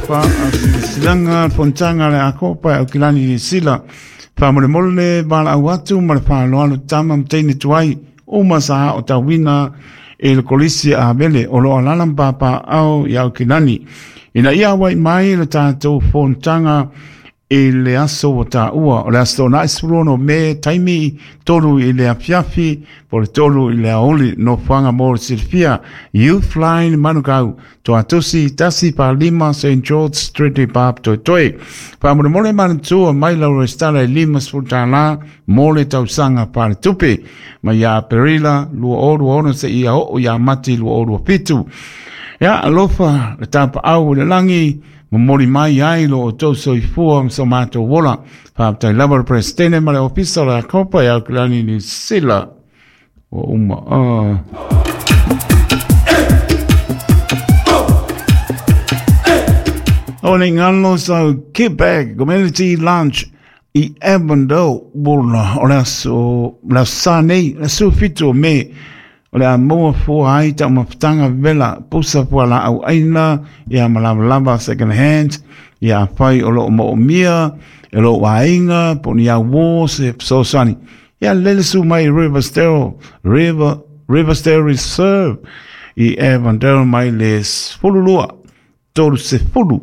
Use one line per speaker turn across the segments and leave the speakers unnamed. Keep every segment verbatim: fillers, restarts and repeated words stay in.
Faasilasilaga fonotaga a le Akopa e Aukilani Niu Sila. Faamolemole valaau atu ma le faaaloalo tama ma teine tuai uma sa aotauina i le kolisi a Avele o loo alaala ma papaao i Aukilani ina ia auai mai le tatou fonotaga i le aso ua taua o le aso Toonai sefulu ono Me, taimi tolu i le afiafi po o le tolu i le aoauli. Nofoaga mo le silafia: Youth Line Manukau, Toatusi tasi fa lima Saint George Street i Papatoetoe. Faamolemole manatua mai lau resitala e limasefulu tālā mo le tausaga faaletupe mai ia Aperila lua o lua ono seia oo ia Mati lua o lua fitu. Ia alofa le tapaau i le lagi momoli mai ai lo outou soifua ma so matou ola. Faafetai lava le Peresetene ma le Ofisa o le Akopa e Aukilani Niu Sila ua uma. uh. O le ngalo sau Quebec Community Lunch i Avondale Wola o le aso le aso Sa nei, le sefulu fitu o Me, o le a maua fua ai taumafataga vela pusa fualaau aina ia ma lavalava second hand ia afai o loo moomia e lou aiga po o ni auō se fesoasoani ia lele su mai Riversdale River Riversdale Reserve i Avondale mai le sefululua tolu sefulu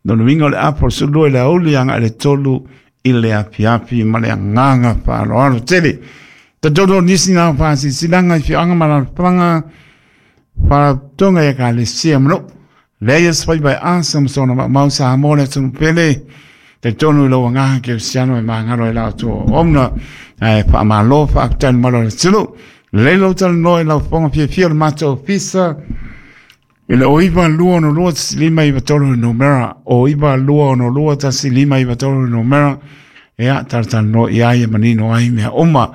lona uiga o le apo o le sefululua i le aoauli agai le tolu i le afiafi ma le agaga faaaloalo tele. Tatonu o nisi na faasilasilaga i afioaga ma alaalafaga faalapotopotoga i ekalesia ma nuu leai aso faiva e asa ma sona maumau Samoa le atunuu pele. Talitonu i lou agaga kerisiano e magalo ai la outou auauna ae faamalo faafetai le malo o le atunuu. Lelei lou talanoa i lau fofoga fiafia o le matou ofisa i le o iva lua ono lua tasi lima iva tolu le numera o iva lua ono lua tasi lima iva tolu le numera ia talatalanoa i ai e manino ai mea uma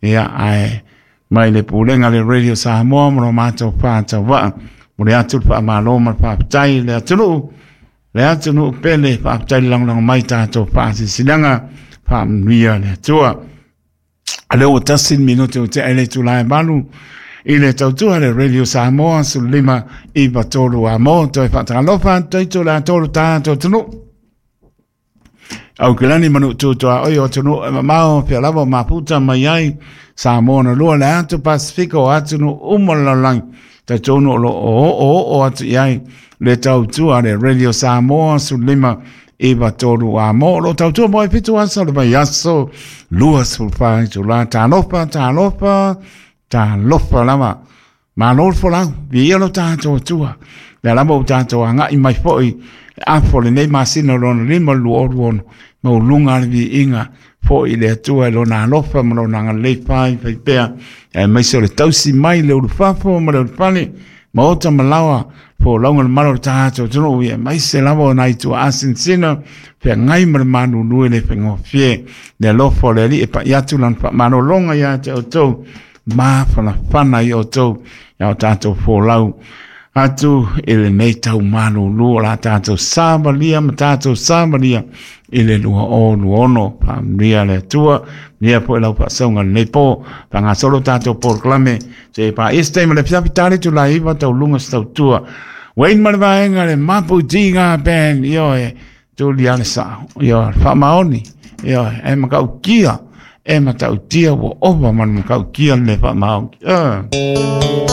ia ae mai le pulega le Radio Samoa ma lo matou fatauvaa mo le atu le faamalo ma le faafetai le atunuu le atunuu pele. Faafetai le lagolago mai tatou faasilasilaga. Faamanuia le Atua. A lea ua tasi le minute o tea i le itula e valu i le tautua le Radio Samoa sefulu lima iva tolu a mo toe faatalofa atu le atolu tatou atunuu Aukilani manu tutua oi o atunuu e mamao fea lava o maputa mai ai Samoa na lua le atu Pasifika o atunuu uma le lalolagi. Talitonu o loo oo oo atu i ai le tautua le Radio Samoa sefulu lima iva tolu a mo o lo tautua mo e fitu aso le vaiaso luasefulu fa itula. Talofa, talofa, talofa lava. Malo le folau, viia lo tatou Atua. Lea lava ua tatou agai mai foi le apo lenei masina lona lima lua olu ono mauluga le viiga foi i le Atua i lona alofa ma lona agalelei fai fai pea aemaise o le tausi mai le ulufafo ma le ulufale maota ma laoa folauga le malo o le tatou atunuu ia aemaise lava o nai tuaa sinasina feagai ma le malulu e le faigofie le alofa o le Alii e pai atu lana faamalologa ia te outou mafanafana i outou ia o tatou folau atu i lenei tau malulu o la tatou savalia ma tatou savalia i le lua o lua ono. Faamanuia le Atua ia po i lau faasauga lenei po faagasolo tatou polokalame se paise ma le fiafi tali tulai iva tauluga se tautua Wayne ma le vaega le Mapu Tiga Band. Ioe, tuli ale sao, ioe, faamaoni, ioe, e matautia e matautia ua ova ma le matautia le faamaoni uh.